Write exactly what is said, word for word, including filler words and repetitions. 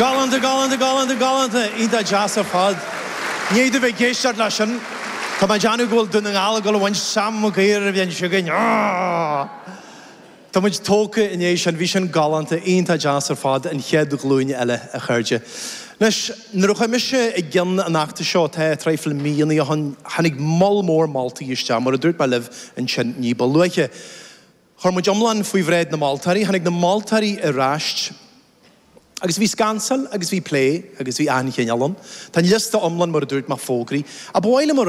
Galánta, galánta, galánta, galánta, iontach deas ar fad. Ní do bheith géisteart leis sin, Tá mé déanamh go bhfuil Dún na nGall ag dul a bhaint Sam Mac Uidhir a bhíonn againn. Tá muid tógtha inné sin bhí sin galánta iontach deas ar fad an chéad ghlúin eile a chairde. Anois nuair a chuaigh mise i gceann an fheachtais seo tá traidhfil míonna ó shin tháinig moll mór moltaí isteach mar a dúirt mé libh ansin ní ba luaithe. Chuir muid iomlán faoi bhráid na moltóirí, tháinig na moltóirí ar ais Agus bhí scansáil agus bhí plé agus bhí an-chineál ann. Tá liosta iomlán mar a dúirt mé fógraithe. A bhile mar